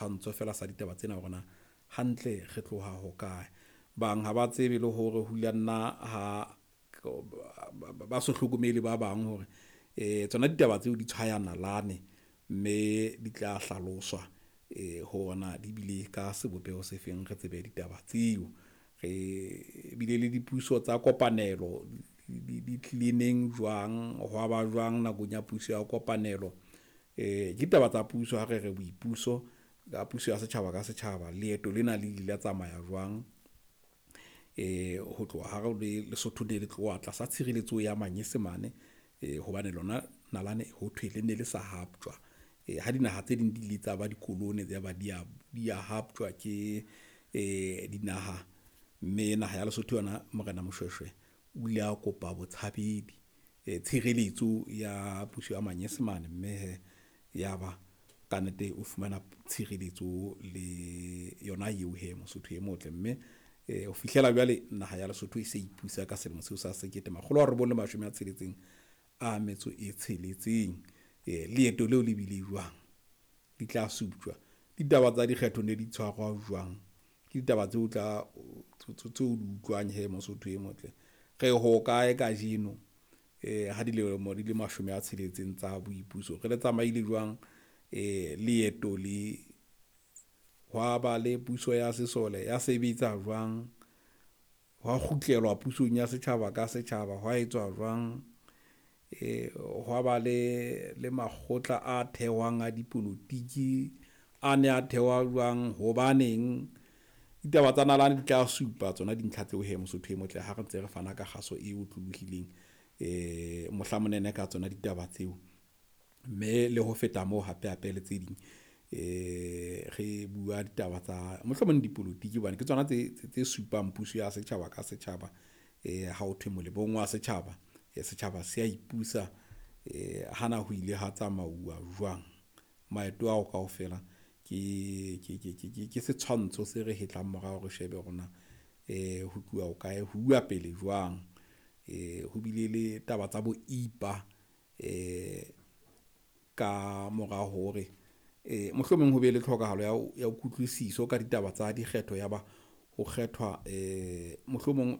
Setshwantsho feela sa ditaba tsena hore na hantle re tloha hokae. Bang ha ba tsebe le hore ho ile nna ha ba so hlokomele ba bang hore tsona ditaba tseo di tshwaya nalane, mme di tla hlaloswa hore na di bile ka sebopeho se feng, re tsebe ditaba tseo. Re bile le dipuso tsa kopanelo di tlile neng, jwang, hwa ba jwang nakong ya puso ya kopanelo. Ke ditaba tsa puso ha re re boipuso ka puso ya setjhaba ka setjhaba. Leeto lena le ile la tsamaya jwang ho tloha ha re le Lesotho ne le tloha tlasa tshireletso ya Manyesemane hobane lona nalane ho thwe le ne le sa haptjwa. Ha dinaha tse ding di ile tsa ba dikolone ya ba di ya haptjwa ke dinaha, mme naha ya Lesotho yona Morena Moshweshwe o ile a kopa botshabedi tshireletso ya puso ya Manyesemane. Mme hee ya ba kannete o fumana tshireletso le yona eo hee Mosotho e motle. Mme ho fihlela jwale naha ya Lesotho e se ipusa ka selemo seo sa sekete makgolo a robong le mashome a tsheletseng a metso e tsheletseng. Leeto leo le bile jwang? Di tla suptjwa. Ditaba tsa dikgetho ne di tshwarwa jwang? Ke ditaba tseo o tla tseo o di utlwang hee Mosotho e motle. Re hokae kajeno ha dilemo di le mashome a tsheletseng tsa boipuso? Re le tsamaile jwang leeto le? Hwa ba le puso ya sesole, ya sebetsa jwang? Hwa kgutlelwa pusong ya setjhaba ka setjhaba, hwa etswa jwang? Hwa ba le makgotla a thehwang a dipolotiki, a ne a thehwa jwang, hobaneng? Ditaba tsa nalane di tla supa tsona dintlha tseo hee Mosotho e motle ha re ntse re fana ka kgaso e otlolohileng mohla monene ka tsona ditaba tseo. Mme le ho feta moo hape hape le tse ding re bua ditaba tsa mohlomong dipolotiki hobane ke tsona tse supang puso ya setjhaba ka setjhaba. Ha ho thwe molemong wa setjhaba, setjhaba se a ipusa. Hana ho ile ha tsamauwa jwang? Maeto ao kaofela ke setshwantsho se re hetlang morao, re shebe hore na ho tluwa hokae, ho uwa pele jwang. Ho bile le taba tsa bo IPA ka mora hore mohlomong ho be le tlhokahalo ya kutlwisiso ka ditaba tsa dikgetho ya ba ho kgethwa mohlomong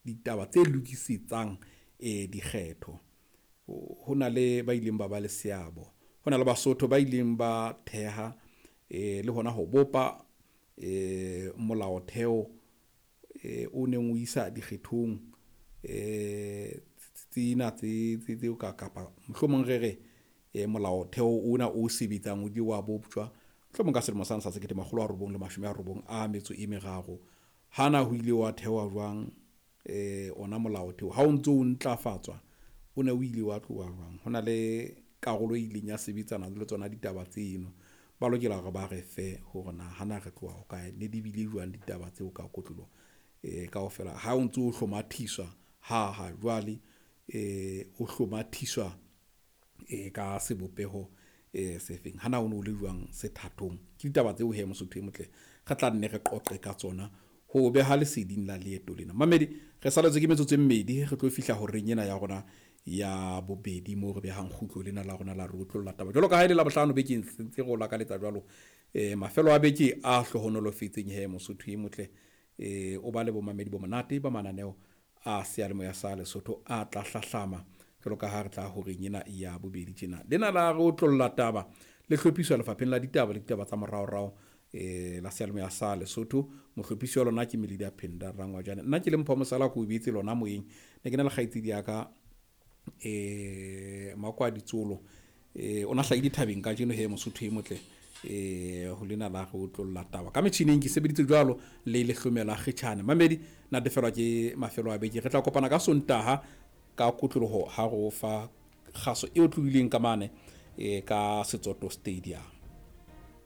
ditaba tse lokisetsang dikgetho. Ho na le ba ileng ba ba le seabo, ho na le Basotho ba ileng ba theha le hona ho bopa molaotheo o neng o isa dikgethong tsena tse tseo kapa mohlomong re re molaotheo ona o sebetsang o ile wa boptjwa mohlomong ka selemo sane sa sekete makgolo a robong le mashome a robong a metso e meraro. Hana ho ile wa thehwa jwang ona molaotheo ha o ntso o ntlafatswa, o ne o ile wa tloha jwang? Ho na le karolo e ileng ya sebetsana le tsona ditaba tseno. Ba lokela hore ba re fe hore na hana re tloha hokae, ne di bile jwang ditaba tseo ka kotloloho kaofela ha o ntso hlomathiswa ha jwale o hlomathiswa ka sebopeho se feng. Hana ho no le jwang sethathong? Ke ditaba tseo hee Mosotho e motle re tla nne re qoqe ka tsona ho beha leseding la leeto lena. Mmamedi, re saletswe ke metsotso e mmedi, re tlo fihla horeng ena ya rona ya bobedi moo re behang kgutlo lena la rona la re otlolla taba. Jwalo ka ha e le Labohlano bekeng ntse re o lakaletsa jwalo mafelo a beke a hlohonolofetseng he Mosotho e motle o ba le bomamedi bo monate ba mananeo a seyalemoya sa Lesotho a tla hlahlama jwalo ka ha re tla horeng ena ya bobedi tjena. Lena la re otlolla taba le hlophiswa lefapheng la ditaba le ditaba tsa moraorao la seyalemoya sa Lesotho. Mohlophisi wa lona ke Melida Phenda Rangwajane. Nna ke le Mpho Mosala ko beetse lona moyeng. Ne ke na le kgaitsedi ya ka Makwadi Tsolo o na hlahile thabeng kajeno he Mosotho e motle ho lena la re otlolla taba ka metjhineng ke sebeditse jwalo le lehlomela kgetjhane. Mamedi natefelwa ke mafelo a beke, re tla kopana ka Sontaha ka kotloloho ha re o fa kgaso e otlolohileng ka mane ka Setsoto Stadium.